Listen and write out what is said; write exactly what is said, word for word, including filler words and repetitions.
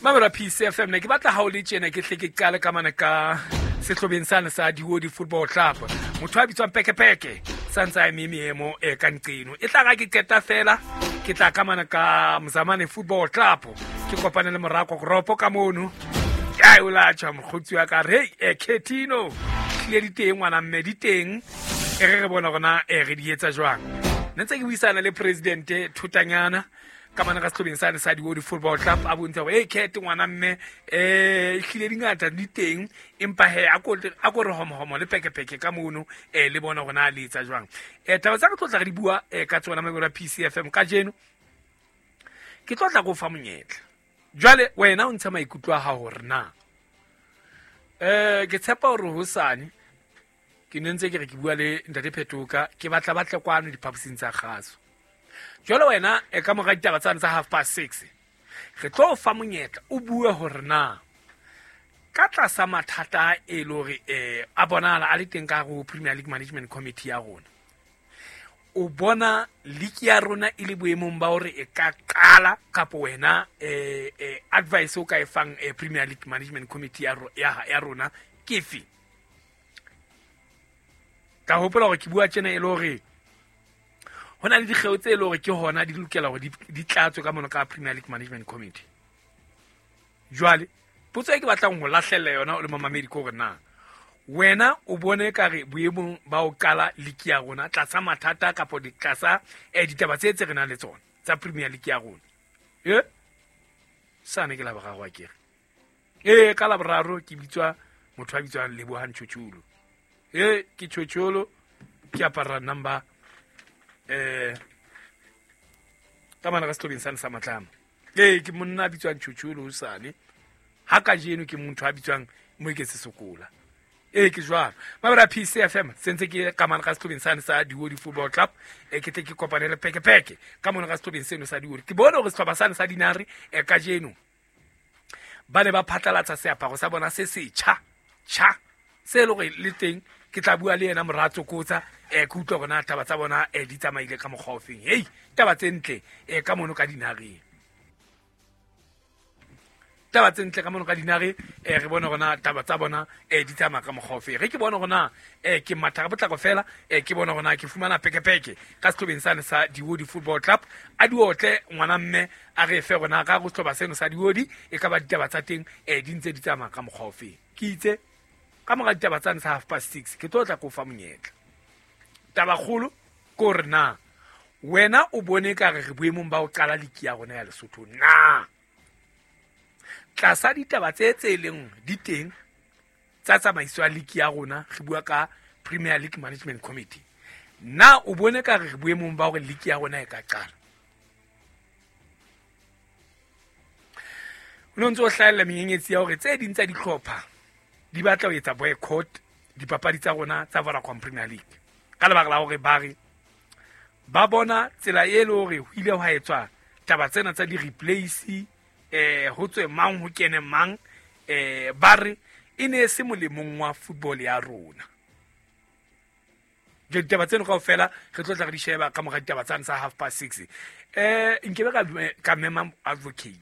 Mamela P C F M, ne ke batla ha o le tjena ke hle ke qale ka mane ka sehlobeng sane sa Diodi Football Club. Motho a bitswang Pekepeke sa ntse a eme meemo e ka nqeno. E tla ga ke qeta fela ke tla ka mane ka Mzamane Football Club, ke kopane le Morako Goropo ka mono. Ke o la tjha mokgotsi wa ka re e Ketino tlile di teng ngwana mme di teng e re re bona rona e re di etsa jwang. Ne ntse ke buisana le presidente Thutanyana ka mane ka sehlobeng sane sa Diodi Football Club, a bontsha hore e kete ngwana mme um ehlile dingata di teng, empa he a ko a ko re homohomo le pekepeke ka mono um le bona hore na le etsa jwang. um taba tsa re tlo tla re di bua um ka tsona mabelo a P C F M kajeno, ke tlo tla ko fa monyetla jwale wena o ntsha maikutlo a hao hore na um ke tshepa hore hosane ke ne ntse ke re ke bua le ntate Phetoka, ke batla batle kwano diphaposing tsa kgaso. Jwale wena e ka mora ditaba tsane tsa half past six re tlo o fa monyetla o bue hore na ka tlasa mathata e le hore um a bonahala a le teng ka hare ho Premier League Management Committee ya rona, o bona league ya rona e le boemong ba hore e ka qala kapo wena eh, eh, advice o ka e fang eh, Premier League Management Committee ya, ro- ya, ya rona ke efe? Ka hopola hore ke bua tjena e le hore ho na le dikgeo tse e le hore ke hona di lokela hore di di tlatswe ka mono ka Premier League Management Committee. Jwale potso e ke batlang ho lahlella yona o le momamedi ke hore na wena o bone ka re boemong ba ho qala league ya rona tlasa mathata kapo di tlasa eh, ditaba tse tse re nang le tsona tsa Premier League ya rona e sane ke Laboraro a kere ee ka Laboraro ke bitswa motho a bitswang Lebohang Tjhotjholo e ke Tjhotjholo, ke apara number eh ka mana ka sehlobeng sane sa Matlama. Ee, ke monna a bitswang Tjhotjholo hosane ha kajeno ke motho a bitswang Moeketse Sokola. Ee, ke jwalo mabera P C F M sentse ke ka mana ka sehlobeng sane sa Diodi Football Club. E ke tle ke kopane le Pekepeke ka mona ka sehlobeng seno sa Diodi. Ke bone hore sehlopha sane sa Dinare e kajeno ba ne ba phatlalatsa seaparo sa bona se setjha tjha se le hore le teng ke tla bua le yena Moratso Kotsa um ke utlwa hore na taba tsa bona um di tsamaile ka mokgwa ofeng. Hei, taba tse ntle um ka mono ka Dinareng, taba tse ntle ka mono ka Dinare. um re bone hore na taba tsa bona um di tsamaya ka mokgwa ofeng. Re ke bone hore na um ke matha ka potlako fela um ke bone hore na ke fumana Pekepeke ka sehlobeng sane sa Diodi Football Club. A diotle ngwana mme a re fe hore na ka go sehlopha seno sa Diodi e ka ba ditaba tsa teng um di ntse di tsamaya ka mokgwa ofeng. Ke itse ka mora ditaba tsane sa half past six ke tlo tla ko fa monyetla. Tabakgolo ke hore na wena o bone ka re re boemong ba ho qala league ya rona ya Lesotho na tlasa ditaba tse tse leng di teng tsa tsamaiso ya league ya rona, re bua ka Premier League Management Committee, na o bone ka re re boemong ba hore league ya rona e ka qala? O no ntse o hlahella menyenyetsi ya hore tse ding tsa dihlopha di batla ho etsa boycott dipapadi tsa rona tsa Vodacom Premier League ka lebaka la hore ba re ba bona tsela e le hore ho ile hwa etswa taba tsena tsa di-replace eh ho tswe mang ho kene mang, eh ba re e ne e se molemong wa football ya rona. Jwale ditaba tseno kaofela re tlo tla re di sheba ka mora ditaba tsane tsa half past six. eh nkebe ka ka mema advocate.